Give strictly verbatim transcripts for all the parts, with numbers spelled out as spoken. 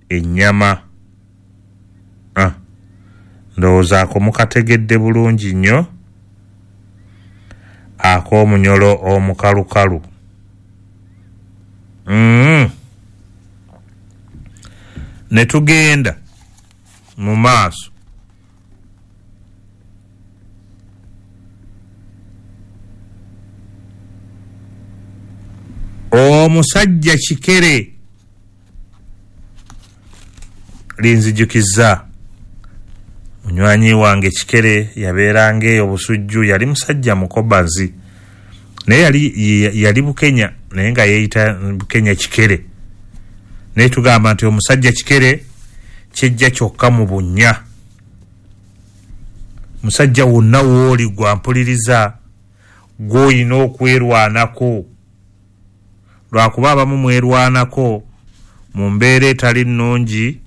ennyama. Ah, ndowooza ako mukategedde bulungi nnyo, ak'omunyolo omukalukalu. Mm. Ne tugenda mu maaso. Omusajja kikere linzijukiza munywanyi wange Kikere yabeeranga eyo Busujju, yali musajja mukobazi naye yali, yali Bukenya naye nga yeeyita Bukenya Kikere. Naye tugamba nti omusajja Kikere kijja kyokka mu bunnya. Musajja wonna w'oli gwampuliriza gw'olina okwerwanako, lwakuba abamu mwerwanako mu mbeera etali nnungi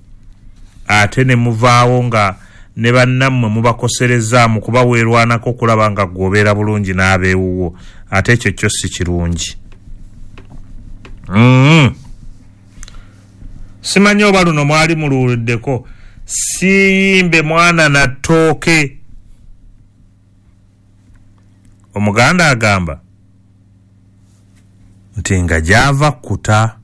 ate ne muvaawo nga ne bannammwe mubakosereza mu kuba weerwanako okulaba nga gw'obeera bulungi n'abeewuwo, ate ekyo kyo si kirungi. Mm. Simanyi oba luno mwali muluwuliddeko, siyimbe mwana na ttooke. Omuganda agamba nti nga gy'ava kkuta.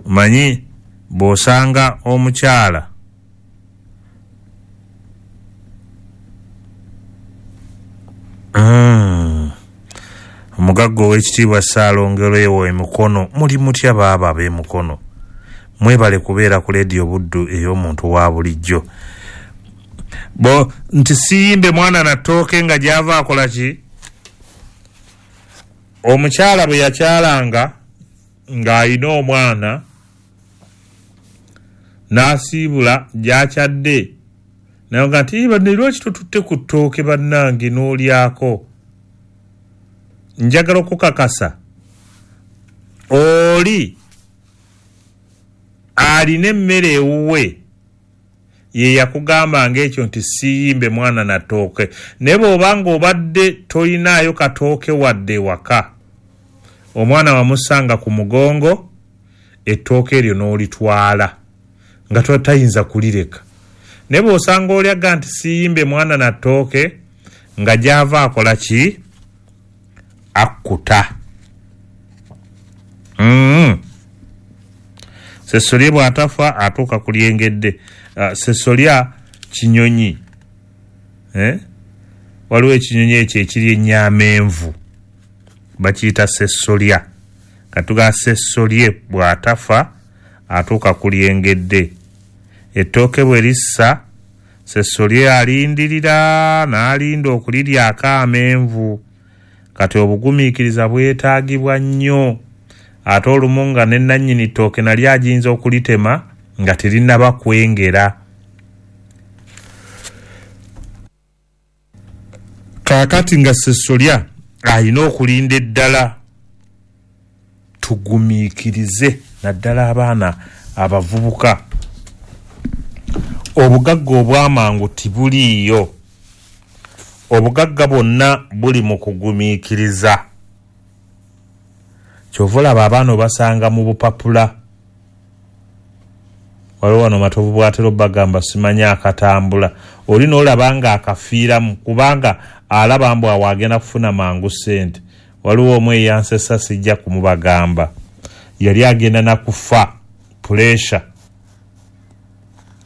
Omanyi bw'osanga omukyala mm. omugagga ow'ekitiibwa Ssaalongero ewo emikono, muli mutya baaba ab'emikono? Mwebale kubeera ku leediyo Buddu ey'omuntu wa bulijjo. Bo nti siyimbe mwana na ttooke nga gy'ava akola ki? Omukyala bwe yakyalanga ng'alina omwana n'asiibula gy'akyadde, naye nga nti banne lwaki totutte ku ttooke bannange n'olyako? Njagala okukakasa oli alina emmere ewuwe ye yakugambanga ekyo nti siyimbe mwana na ttooke. Naye bw'oba ng'obadde tolinaayo katooke wadde ewaka, omwana wamusanga ku mugongo, ettooke eryo n'olitwala nga tayinza kulireka. Naye bw'osanga oli aga nti siyimbe mwana na ttooke, nga gy'ava akola ki? Akkuta. Mm. Sessolye bw'atafa atuuka ku lyengedde. Uh, sessolya kinyonyi, eh? Waliwo ekinyonyi ekyo ekiri ennyamenvu bakiyita sessolya. Katuga sessolye bw'atafa atuuka ku lyengedde. Ettooke bwe lissa, sessolye alindirira n'alinda okuliryako amenvu. Kati obugumiikiriza bwetaagibwa nnyo, ate olumu nga ne nannyini ttooke nali agiyinza okulitema nga terinnaba kwengera. Kaakati nga sessolya alina okulinda eddala. Tugumiikirize naddala abaana abavubuka. Obugagga obw'amangu tibuliiyo. Obugagga bwonna buli mu kugumiikiriza. Ky'ova olaba abaana obasanga mu bupapula. Waliwo wano Matovu bw'atera obbagamba simanyi akatambula, oli n'olaba nga akafiiramu kubanga alaba mbu awo agenda kufuna mangu ssente. Waliwo omu eyansesa sijja kumubagamba, yali agenda na kufa puresha,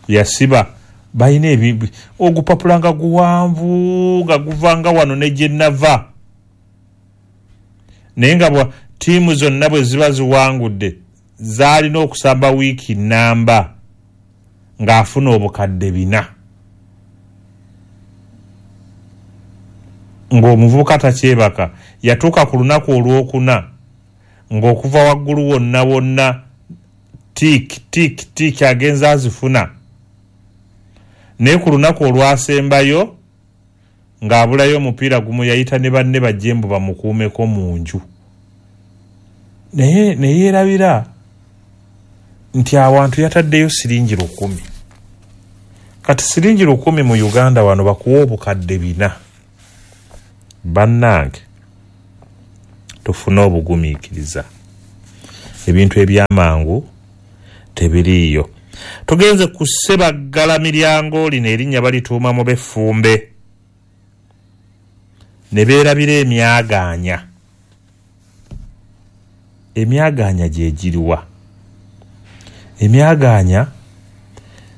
yasiba balina ebi ogupapula nga guwanvu nga guvanga wano ne gye nava, naye nga bwa ttiimu zonna bwe ziba ziwangudde zaalina okusamba wiiki nnamba ng'afuna obukadde bina, ng'omuvubuka takyebaka. Yatuuka ku lunaku olwokuna ng'okuva waggulu wonna wonna tiiki tiiki tiiki agenza azifuna, naye ku lunaku olwasembayo ng'abulayo omupiira gumu yayita ne banne bajje mbu bamukuumeko mu nju. Naye ne yeerabira nti awantu yataddeyo siringi lukumi. Kati siringi lukumi mu Uganda wano bakuwa obukadde bina. Bannange tufune obugumiikiriza. Ebintu ebyamangu tebiriiyo. Tugenze ku Ssebaggala miryango, lino erinnya balituuma mu b'effumbe ne beerabira emyagaanya. Emyagaanya gye giriwa? Emyagaanya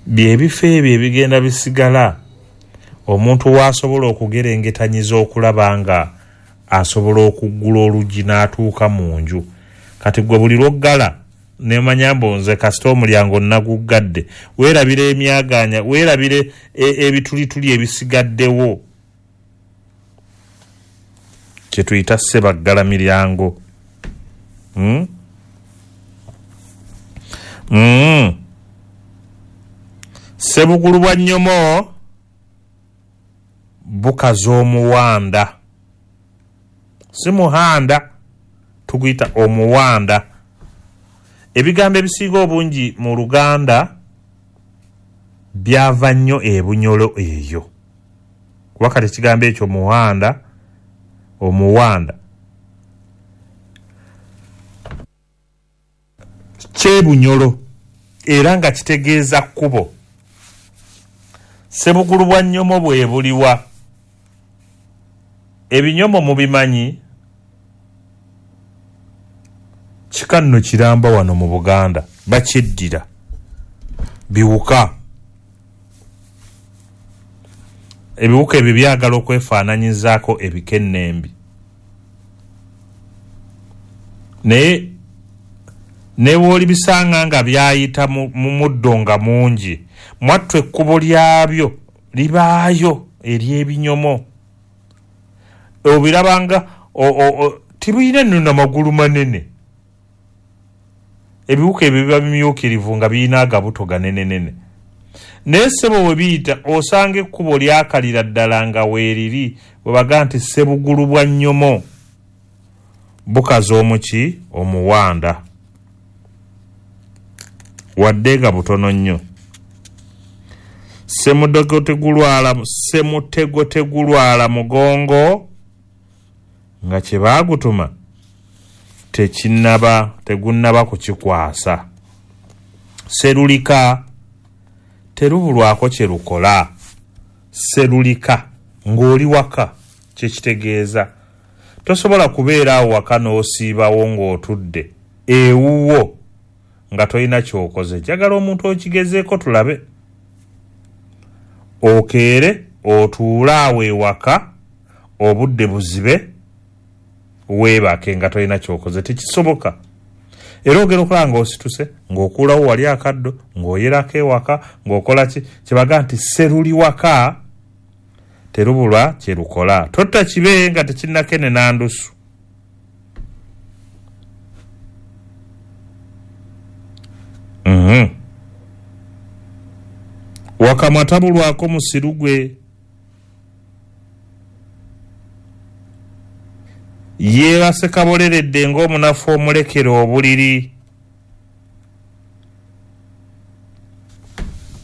by'ebifo ebyo ebigenda bisigala omuntu w'asobola okugerengetanyiza okulaba nga asobola okuggula oluggi n'atuuka mu nju. Kati gwe buli lw'oggala nemanya mbu nze kasita omulyango naguggadde, weerabira emyagaanya, weerabire ebitulituli ebisigaddewo, kye tuyita Ssebaggala miryango. Mm? Mm. Ssebugulu bwa nnyomo bukaza omuwanda, si muhanda, tuguyita omuwanda. Ebigambo ebisinga obungi mu Luganda byava nnyo ebunyolo eyo, kuba kati ekigambo ekyo muhanda, omuwanda kyebunyolo era nga kitegeeza kkubo. Ssebugulu bwa nnyomo bwe buliwa? Ebinyomo mubimanyi? Kika nno kiramba wano mu Buganda, bakyeddira biwuka. Ebiwuka ebyo byagala okwefaananyizaako ebikennembi, naye ne bw'olibisanga nga byayita mu muddo nga mungi, mwattu ekkubo lyabyo libaayo ery'ebinyomo. Obirabanga tibirina nno namagulu manene. Ebiwuka ebyo biba bimyukirivu nga birina agabuto ganenenene, naye ssebo we biyita osanga ekkubo lyakalira ddala nga weeriri. Bwe baga nti Ssebugulu bwa nnyomo bukaza omuki omuwanda, wadde nga butono nnyo. Ssemutego tegulwala, ssemutego tegulwala mugongo, nga kye baagutuma tekinnaba, tegunnaba kukikwasa. Sserulika terubulwako kye lukola. Sserulika ng'oli waka kye kitegeeza. Tosobola kubeera awo waka n'osiibawo ng'otudde ewuwo nga tolina ky'okoze. Njagala omuntu okigezeeko tulabe. Okeere otuule awo ewaka obudde buzibe weebake nga tolina ky'okoze, tekisoboka. Era ogenda okulaba ng'osituse ng'okuulawo wali akaddo ng'oyerako ewaka ng'okola ki, kyebaga nti sseruli waka terubulwa kye lukola. Totta kibe nga tekinnakenena ndusu. Mm-hmm. Wakamwa tabulwako musiru gwe yeebase kaboleredde ng'omunafu omulekera obuliri.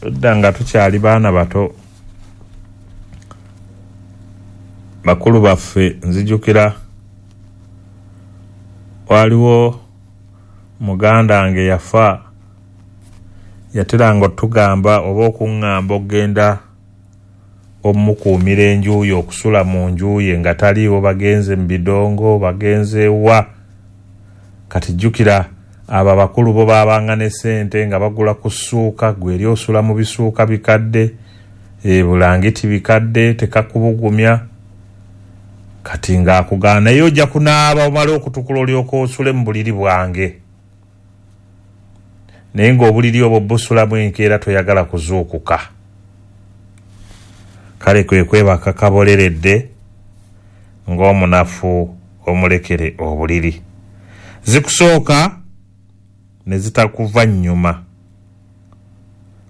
Edda nga tukyali baana bato, bakulu baffe nzijukira waliwo muganda wange yafa, yateranga otugamba oba okuŋŋamba okugenda omukuumira enju ye, okusula mu nju ye nga taliiwo, bagenze mu bidongo, bagenze wa. Kati jjukira abo abakulu bo baabanga ne ssente nga bagula ku ssuuka, gwe eri osula mu bisuuka bikadde, e bulangiti bikadde, tekakubugumya. Kati ng'akugaana naye ojja kunaaba omale okutukula olyoke osule mu buliri bwange, naye ng'obuliri obwo busulamu enkeera toyagala kuzuukuka. Kale kwe kwebaka kaboleredde ng'omunafu omulekere obuliri. Zikusooka ne zitakuva nnyuma.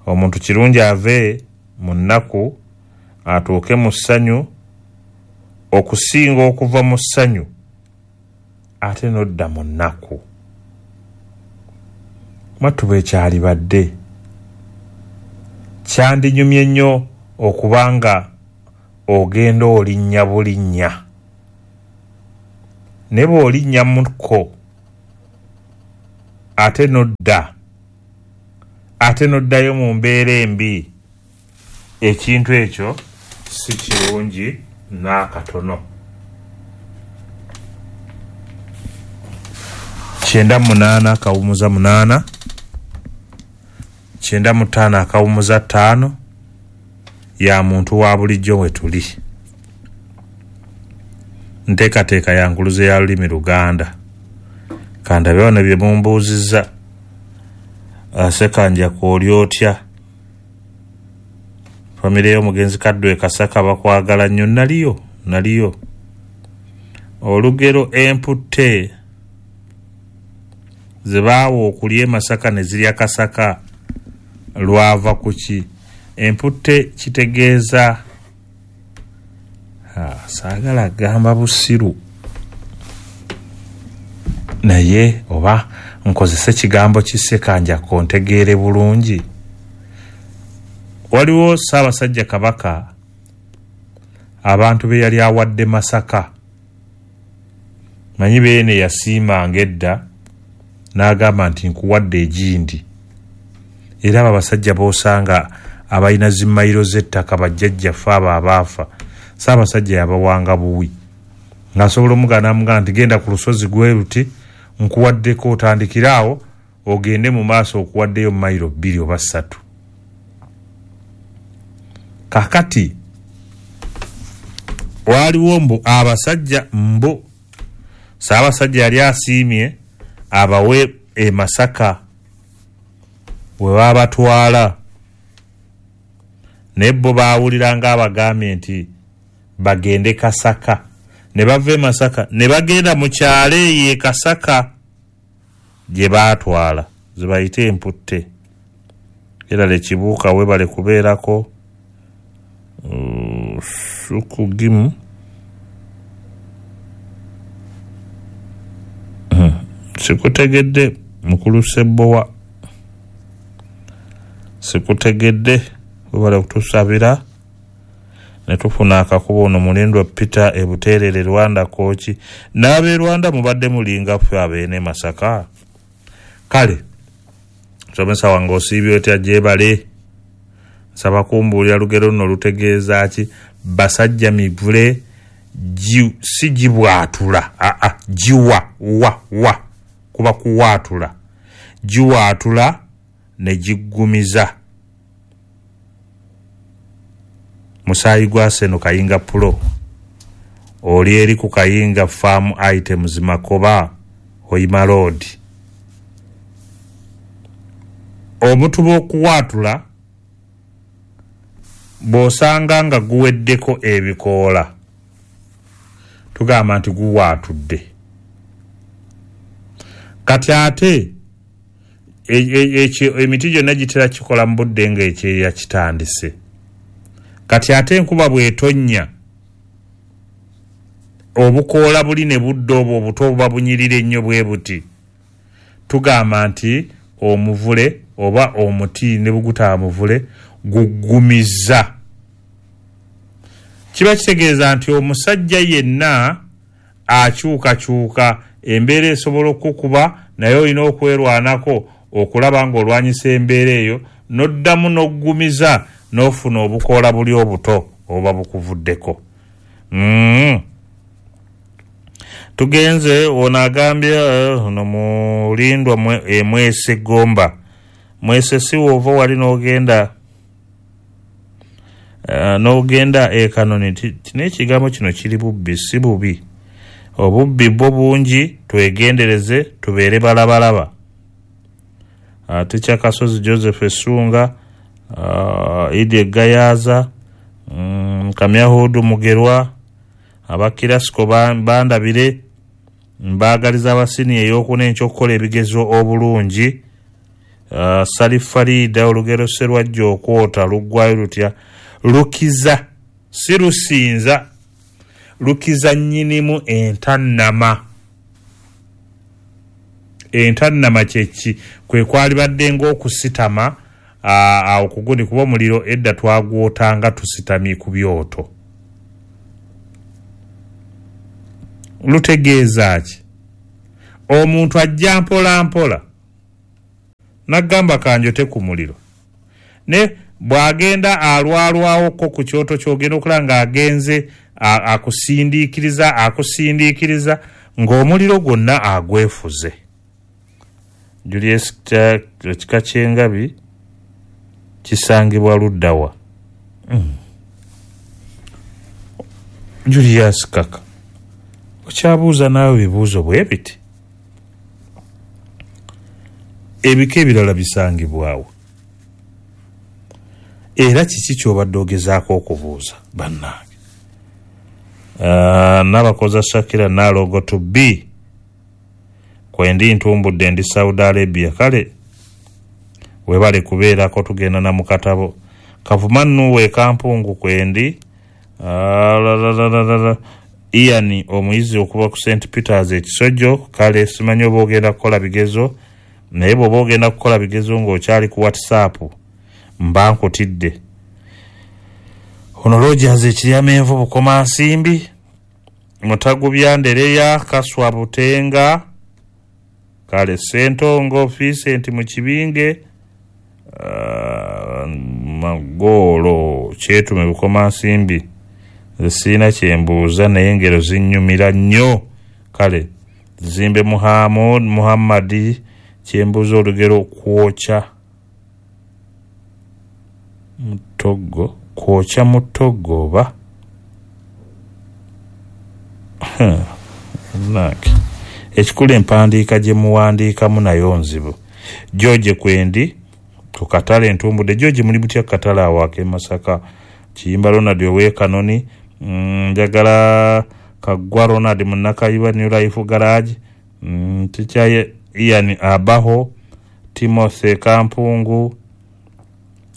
Omuntu kirungi ave mu nnaku atuuke mu ssanyu okusinga okuva mu ssanyu ate n'odda mu nnaku. Mwattu bwe kyalibadde kyandinyumye nnyo okubanga ogenda olinnya bulinnya, ne bw'olinnya mukko ate n'odda ate n'oddayo mu mbeera embi, ekintu ekyo si kirungi n'akatono. Kyenda munaana akawumuza munaana, kyenda mu ttaano akawumuza ttaano ya muntu wa bulijjo we tuli. Nteekateeka ya nkuluze ya lulimi Luganda. Kandabe wano bye mumbuuzizza. Ssekanja kw'oli otya? Famire y'omugenzi Kaddu e Kasaka bakwagala nnyo. Naliyo, naliyo. Olugero emputte ze baawa okulya e Masaka ne zirya Kasaka lwava ku ki? Emputte kitegeeza saagala gamba busiru, naye oba nkozese kigambo ki Ssekanjako ntegeere bulungi. Waliwo Ssaabasajja Kabaka abantu be yali awadde Masaka, manyi beene yasiimanga edda n'agamba nti nkuwadde egindi. Era abo abasajja b'osanga abalina zimmayiro z'ettaka bajjajjaffe abo abaafa, Ssaabasajja yabawanga buwi, ng'asobola omugana n'amugamba nti genda ku lusozi gwe luti nkuwaddeko, otandikire awo ogende mu maaso okuwaddeyo mayiro bbiri oba ssatu. Kaakati waliwo mbu abasajja mbu Ssaabasajja yali asiimye abawe e Masaka we baabatwala, naye bo baawulira ng'abagambye nti bagende Kasaka, ne bava e Masaka ne bagenda mu kyalo eyo e Kasaka gye baatwala ze bayite emputte. Era lekibuuka webale kubeerako sukugimu sikutegedde mukulu Ssebbowa, sikutegedde, webale kutusabira ne tufuna akakubo. Ono Mulindwa Peter e Buterere Rwanda Kooki, n'ab'e Rwanda mubadde mulinga ffe abeene Masaka. Kale nsomesa wange osiibye otya? Gyebale. Nsaba kumbuulira lugero luno lutegeeza ki? Basajja mivule si gibwatula, aa giwa wa wa kuba kuwaatula, giwaatula ne giggumiza. Musaayi gwa Seno Kayinga Pulo, oli eri ku Kayinga Farm Items Makoba Hoima Road. Omutuba okuwaatula bw'osanga nga guweddeko ebikoola tugamba nti guwaatudde. Kati ate emiti gyonna gitera kikola mu budde ng'ekyeya kitandise. Kati ate enkuba bw'etonnya obukoola buli ne budda obwo obuto obuba bunyirira ennyo bwe buti, tugamba nti omuvule oba omuti ne bugutaba muvule guggumiza. Kiba kitegeeza nti omusajja yenna akyukakyuka, embeera esobola okukuba naye olina okwerwanako okulaba ng'olwanyisa embeera eyo n'oddamu n'oggumiza n'ofuna obukoola buli obuto oba bukuvuddeko. Mm. Tugenze ono agambye ono Mulindwa Mwese Gomba. Mwese si wova wali n'ogenda uh, n'ogenda e Kanoni. N'ekigambo kino kiri bubbi, si bubi. Obubbi bwo bungi, twegendereze tubeere balabalaba. Uh, Teacher Kasozi Joseph Essunga, uh, Idi Gayaza, um, Kamyahudu Mugerwa, abakirasiko bandabire, mbaagaliza abasini ey'okuna enkyokukola ebigezo obulungi. Uh, Sali Farida, olugero Sserwajja okwota luggwayo lutya? Lukiza, si lusinza, lukiza nnyinimu entannama. Entannama kyeki? Kwe kwalibadde ng'okusitama awo kugundi, kuba omuliro edda twagwotanga tusitamye ku byoto. Lutegeeza ki? Omuntu ajja mpola mpola Nagamba kanjote ku muliro. Ne bw'agenda alwalwawoko ku kyoto ky'ogenda okulaba ng'agenze akusindiikiriza akusindiikiriza ng'omuliro gwonna agwefuze. Julius ekika ky'engabi kisangibwa ludda wa? Mm. Julius Kaka, okyabuuza naawe ebibuuzo bwe biti? Ebika ebirala bisangibwawo. Era kiki ky'obadde ogezaako okubuuza bannange? Uh, Nabakoza Shakira Nalogo to be kwendi ntumbudde ndi Saudi Arabia. Kale webale kubeerako, tugenda na mukatabo. Kavuma Nuwe Kampungu kwendi. Uh, la, la, la, la, la. Ian omuyizi okuva ku Saint Peters ekisojjo. Kale simanyi oba ogenda kukola bigezo, naye bw'oba ogenda kukola bigezo ng'okyali ku WhatsApp mba nkutidde. Ono Rogers Ekiryamenvu Bukomansimbi, Mutagubya Ndereya Kaswa Butenga, kale Ssentongo Vincent Mukibinge, uh, Magoolo Kyetume Bukomansimbi. Nze sirina kyembuuza naye engero zinnyumira nnyo. Kale Zimbe Muhammad Muhammadi kyembuuza olugero kwokya mutogo, kwokya mutogo oba nange ekikulu empandiika gye muwandiikamu nayo nzibu. George kwendi ku katale entumbudde. George muli mutya ku katale awo ak'e Masaka? Kiyimba Ronald ow'e Kanoni, njagala Kaggwa Ronald Munnakayiba New Life Garage, mm, Teacher Ian Abaho, Timothy Kampungu,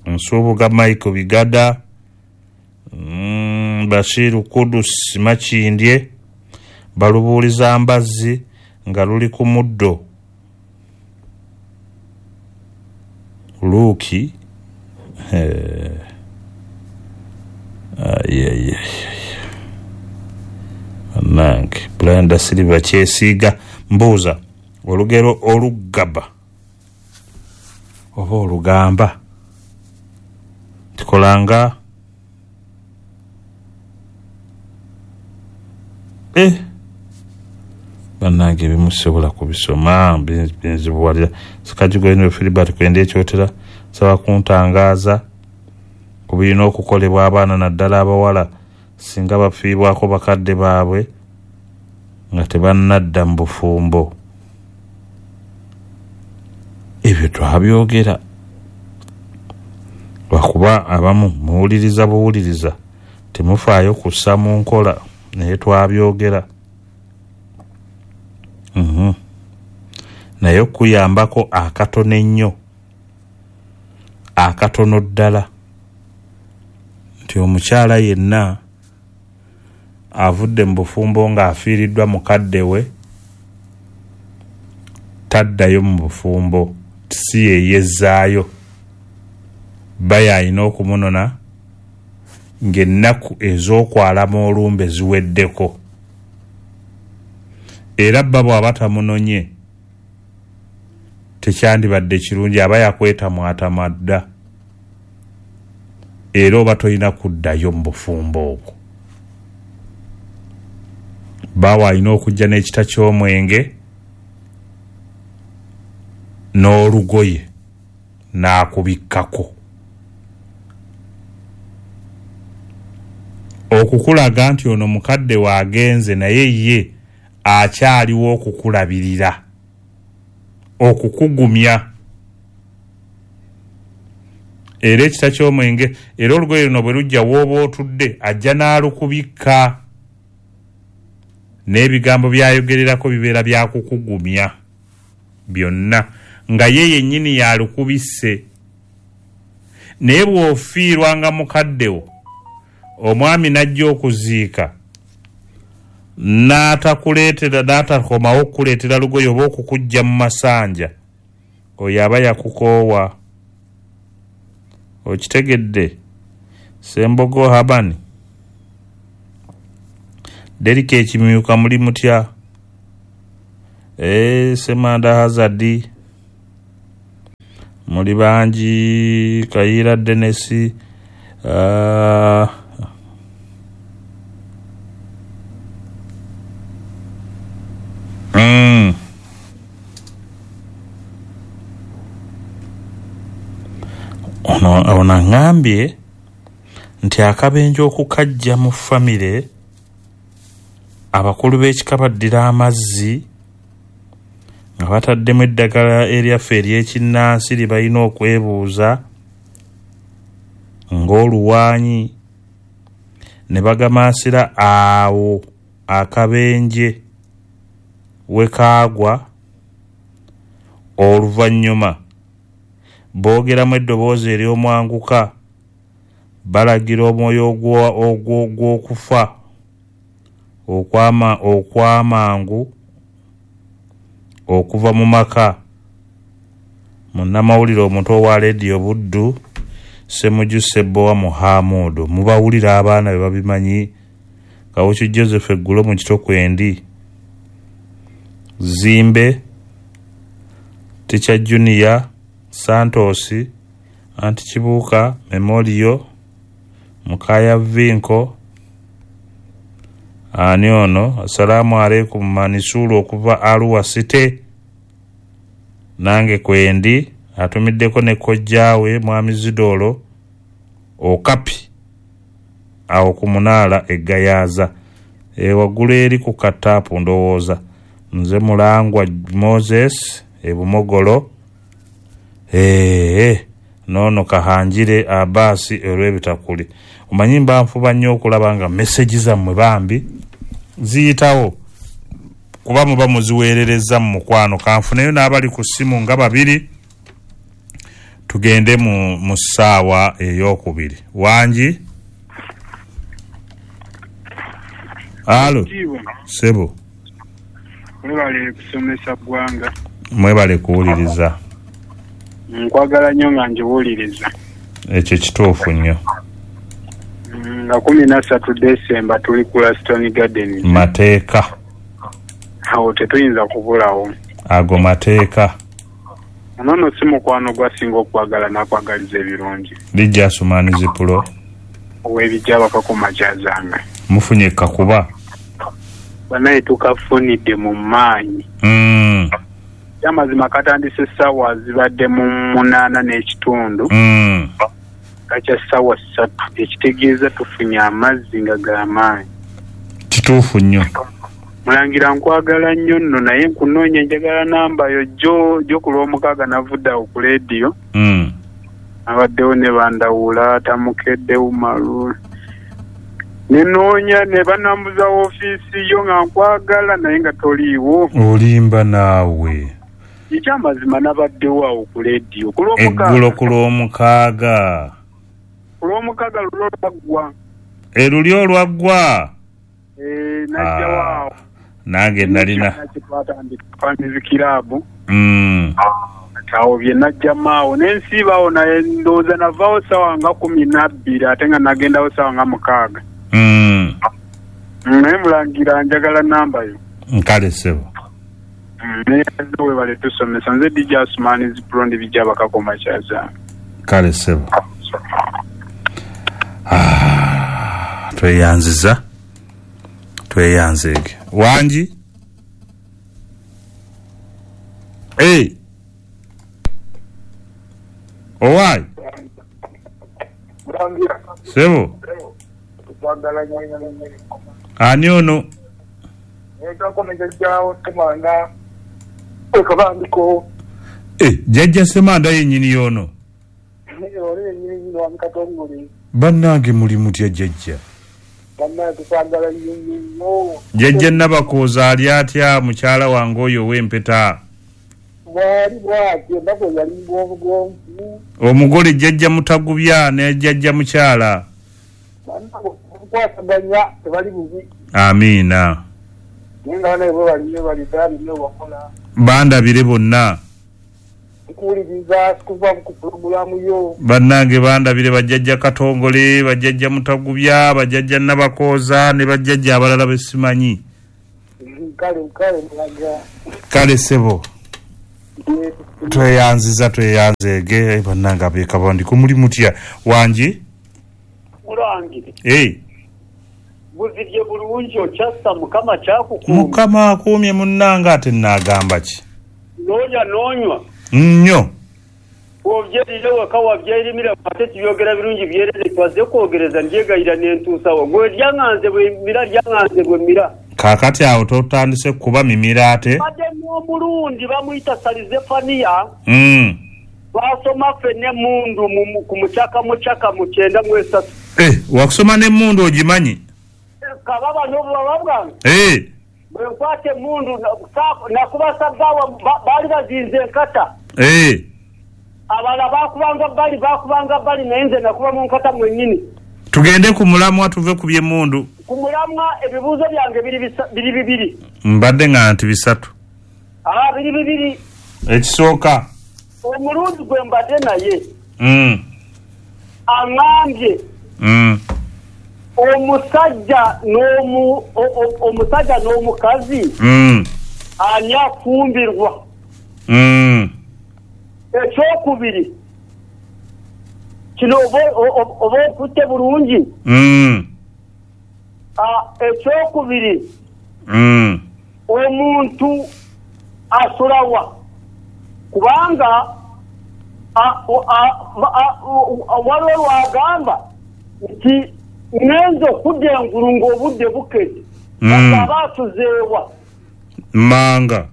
Nsubuga Michael Bigada, mm, Bashiru Kudus Makindye, balubuuliza mbazzi nga luli ku muddo. Luuki eh, aye, nange Brenda Silva kyesiiga. Mbuuza olugero olugaba oba olugamba tikolanga eh bannange ebimu kubisoma binzibuwalira. Sikajigo Filibert kwenda ekyotera nsaba kuntangaaza ku birina okukolebwa abaana naddala abawala singa bafiibwako bakadde baabwe nga tebannadda mu bufumbo. Ebyo twabyogera lwakuba abamu muwuliriza buwuliriza temufaayo kussa mu nkola, naye twabyogera. Mm-hmm. Naye okuyambako akatono ennyo, akatono ddala, nti omukyala yenna avudde mu bufumbo ng'afiiriddwa mukadde we taddayo mu bufumbo, si yeyezzaayo. Bba alina okumunona ng'ennaku ez'okwalama olumbe ziweddeko. Era bba bw'aba tamunonye tekyandibadde kirungi, aba yakwetamwatamwa dda, era oba tolina kuddayo mu bufumbo obwo. Bbaawe alina okujja n'ekita ky'omwenge n'olugoye n'akubikkako okukulaga nti ono mukadde waagenze naye ye akyaliwo okukulabirira, okukugumya. Era ekita ky'omwenge era olugoye luno bwe lujja w'oba otudde ajja n'alukubikka, n'ebigambo by'ayogererako bibeera byakukugumya byonna nga ye yennyini yalukubisse. Naye bw'ofiirwanga mukaddewo omwami n'ajja okuziika n'atakuleetera n'atakomawo okukuleetera lugoye oba okukujja mu masanja, oyo aba yakukoowa. Okitegedde? Sembogo Habani, Derika ekimyuka muli mutya? E, Semanda Hazadi, Muli bangi. Kayira Dennis, uh, mm. Ono ono aŋŋambye nti akabenje okukajja mu famire, abakulu b'ekika baddira amazzi nga bataddemu eddagala eryaffe ery'ekinnansi lye balina okwebuuza ng'oluwaanyi, ne bagamansira awo akabenje we kaagwa. Oluvannyuma boogeramu eddoboozi ery'omwanguka, balagira omwoyo ogw'okufa okwama okw'amangu okuva mu maka. Munnamawulire omuto owa Leediyo Buddu, Ssemujju Ssebbowa Muhamudu. Mubawulira abaana be babimanyi. Kawuki Joseph eggulo mu Kitokwendi, Zimbe, Teacher Junior, Santos, Anti Kibuuka, Memorial, Mukaya Vinko. Ani ono? Assalamu alaikum. Manisulu okuva Arua City, nange kwendi. Atumiddeko ne kojjaawe Mwami Zidolo Okapi awo ku munaala e Gayaza, e waggulu eri ku kataapu ndowooza. Nze Mulangwa Moses e Bumogolo. Ee noono Kahanjire Abasi olw'ebitakuli. Omanyi mba nfuba nnyo okulaba nga meseji zammwe bambi ziyitawo, kuba muba muziweerereza mu mukwano. Kanfuneyo n'abali ku ssimu nga babiri, tugende mu, mu ssaawa ey'okubiri. Wangi? Alo, sebo. Mwebale kusomesa ggwanga. Mwebale kuwuliriza. Nkwagala nnyo nga njiwuliriza. Ekyo kituufu nnyo. Nga kumi na ssatu Desemba tuli ku Laston Gardens. Mateeka. Awo tetuyinza kubulawo. Ago mateeka. Ono si mukwano gwasinga okwagala n'akwagaliza ebirungi. Lijja Asumani Zipulo. Ow'ebijja bakakoma kyazanga. Mufunye kakuba. Banaye tukafunidde mu maanyi. Mm. Amazima katandise essaawa zibadde mu munaana n'ekitundu. Mm. Kakya ssaawa ssatu, ekitegeeza tufunye amazzi nga g'amaanyi. Kituufu nnyo. Mulangira nkwagala nnyo nno, naye nkunoonya njagala namba yo. Jo jo ku lwomukaaga navudde awo ku leediyo. Mm. Abaddewo ne bandawula Tamukedde Umaru. Nenoonya ne banambuza woofiisi yo nga nkwagala naye nga toliiwo. Olimba naawe. Ekyamazima nabaddewo awo ku leediyo ku lwomukaaga. Eggulo ku lwomukaaga. Ku lwomukaaga lulo lwaggwa. Eruli olwaggwa? Eh, najjawo awo. Nange nalina. Twatandika kiraabu. Mm. Awo bye najjamu awo ne nsiibawo, naye ndowooza navaawo ssaawa nga kumi na bbiri ate nga nagendawo ssaawa nga mukaaga. Mm. Naye mulangira njagala namba yo. Nkale ssebo. Naye webale tusomesa. Nze D J Asumani Zipulo ndi bijja bakakoma kyaza. Kale ssebo. Ah, tweyanziza. Tweyanzeege. Wangi? Hey. Owai. Sebo. Ani ono? Eh, jjajja Ssemanda yennyini y'ono. Bannange muli mutya jjajja? Jjajja Nabakooza ali atya mukyala wange oyo ow'empeta? Omugole jjajja Mutagubya ne jjajja mukyala. Amiina. Bandabire bonna. Bannange bandabire bajjajja Katongole, bajjajja Mutagubya, bajjajja Nabakooza ne bajjajja abalala be simanyi. Kale ssebo. Tweyanziza tweyanzeege bannange ab'ekabandiko muli mutya wangi? Mulangire. Eh. Buzibye bulungi okyassa Mukama kyakukuumye. Mukama akuumye munnange ate nnaagamba ki? N'olya n'onywa. Nnyo. Obyerire waka wabyerimira ate tubyogera birungi byerere twaze kwogereza ndyegayira n'entuusawo. Gwe lyaŋŋanze bwe mmira lyaŋŋanze bwe mmira. Kaakati awo totandise kuba mimira ate? Badde n'omulundi bamuyita Salizefaniya. Mm. Twasoma ffenna emmundu ku mucaka mucaka mu kyenda mu esatu. Eh, wakusoma n'emmundu ogimanyi? Kababa n'obubaba bwange. Eh. Bwe nkwata emmundu nakuba sabbaawa baali bazinze enkata. Eh. Abalala baakubanga bbali baakubanga bbali naye nze nakuba mu nkata mwennyini. Tugende ku mulamwa tuve ku by'emmundu. Ku mulamwa ebibuuzo byange biri biri bibiri. Mbadde nga nti bisatu. Ah, biri bibiri. Ekisooka. Omulundi gwe mbadde naye. Mm. Aŋŋambye. Mm. Omusajja n'omu omusajja n'omukazi. Mm. Ani afumbirwa. Mm. Ekyokubiri. Kino oba okutte bulungi. Mm. Ah, ekyokubiri. Mm. Omuntu asulawa. Kubanga waliwo lwagamba nti ngenze okudda engulu ng'obudde bukedde. Mm. Aba atuzeewa. Manga.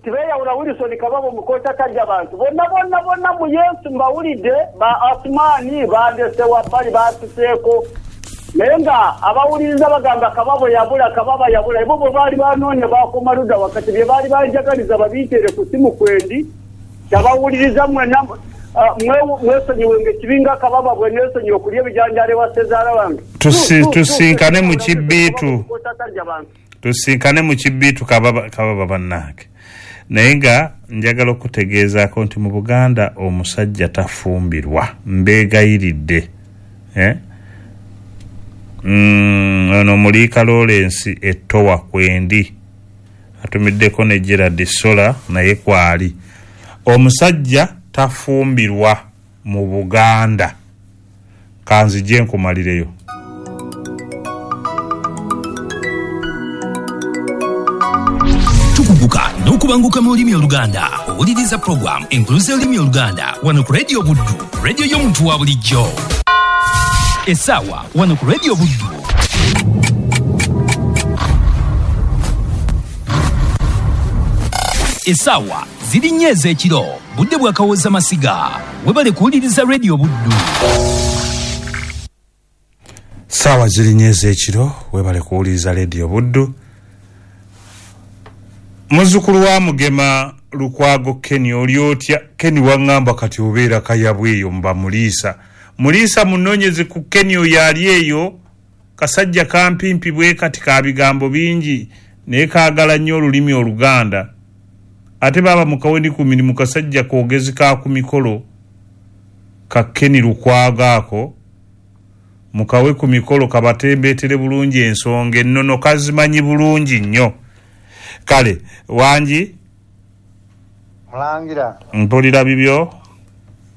Tibeyawula Wilson Kababo mukota tajja bantu. Bonna bonna bonna mu Yesu mbawulidde ba Asumani bandesewa bali batuseeko. Naye nga abawuliriza bagamba Kababo yabula Kababa yabula. Ebo bwe baali banoonya bakoma ludda wakati bye baali banjagaliza babiiteere ku simu kwendi. Tabawuliriza mwenna mwesonyiwenga ekibinga Kababa bwe neesonyiwa okulya ebijanjaalo ewa ssezaala wange. Tusinkane mu kibbiitu. Tusinkane mu kibbiitu Kababa Kababa bannange. Naye nga njagala okutegeezaako nti mu Buganda omusajja tafumbirwa mbeegayiridde. Eh? Mm, ono Muliika Lawrence ettowa kwendi atumiddeko ne Gerard Sola naye kwali. Omusajja tafumbirwa mu Buganda. Kanzije nkumalireyo. Tukubuka n'okubanguka mu lulimi Oluganda. Owuliriza program enkuluze olulimi Oluganda wano ku Radio Buddu, radio y'omuntu wa bulijjo. Essaawa wano ku Radio Buddu. Essaawa ziri nnya ez'ekiro, budde bwa Kawooza Masiga. Webale kuwuliriza Radio Buddu. Ssaawa ziri nnya ez'ekiro, webale kuwuliriza Radio Buddu. Muzzukulu wa Mugema Lukwago Kenny oli otya? Kenny waŋŋamba kati obeera Kayabwe eyo mba Muliisa. Muliisa munoonyeze ku Kenny oyo ali eyo, kasajja kampimpi bwe kati ka bigambo bingi naye kaagala nnyo olulimi Oluganda. Ate baaba mukawendi ku mirimu kasajja koogezi ka ku mikolo ka Kenny Lukwago ako mukawe ku mikolo kabatembeetere bulungi ensonga ennono kazimanyi bulungi nnyo. Kale wangi Mulangira mpulira bibyo.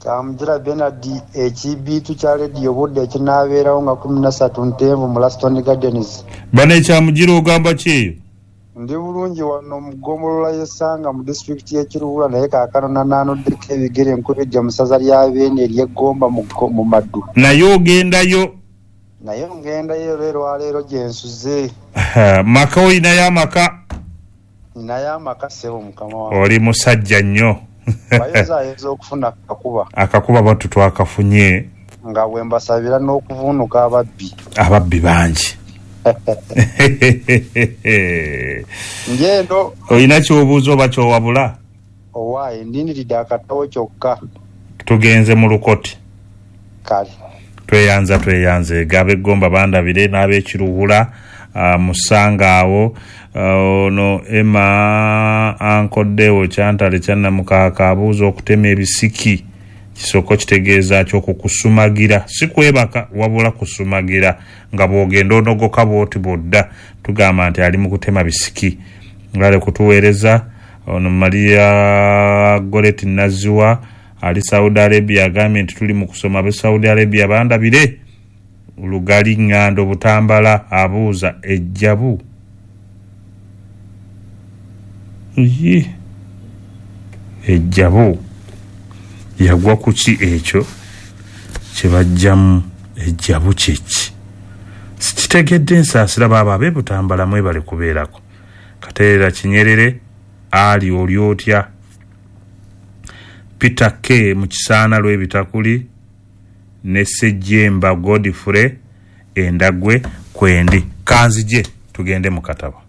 Kyamugira Bernard ekibiitu kya Radio Buddu ekinaabeerawo nga kumi na ssatu Ntenvu mu Laston Gardens. Bano ekyamugira ogamba ki eyo? Ndi bulungi wano mu ggombolola y'Essanga mu disitulikiti y'e Kiruhura naye kaakano nanaanoddeko ebigere nkubijja mu ssaza lya Beene ery'Eggomba mu Maddu. Naye ogendayo? Naye ngendayo era olwaleero gye nsuze. Maka olinayo amaka? Ninayo amaka ssebo mukama wange. Oli musajja nnyo. Bayinzaayinza okufuna akakuba. Akakuba batu twakafunye. Nga bwe mbasabira n'okuvuunuka ababbi. Ababbi bangi. Ngendo. Olina ky'obuuza oba ky'owabula? Owaaye ndindiridde akatabo kyokka. Tugenze mu lukoti. Kale. Tweyanza tweyanze ab'Eggomba bandabire n'ab'Ekiruhura uh, musanga awo ono uh, Emma ankoddewo kyantale kyannamukaaka abuuza okutema ebisiki kisoko kitegeeza ki okukusumagira si kwebaka wabula kusumagira nga bw'ogenda onogoka bw'oti bw'odda tugamba nti ali mu kutema bisiki ngale kutuweereza Ono Maria Goretti Naziwa ali Saudi Arabia agambye nti tuli mu kusoma be Saudi Arabia bandabire Lugali Ngando Butambala abuuza ejjabu Yi ejjabu yagwa ku ki ekyo kye bajjamu ejjabu kiki sikitegedde nsaasira baaba ab'e Butambala mwebale kubeerako. Kateera Kinyerere ali oli otya? Peter K mu Kisaana lw'Ebitakuli ne Ssejjemba Godfrey Endagwe kwendi. Kanzije tugende mu katabo.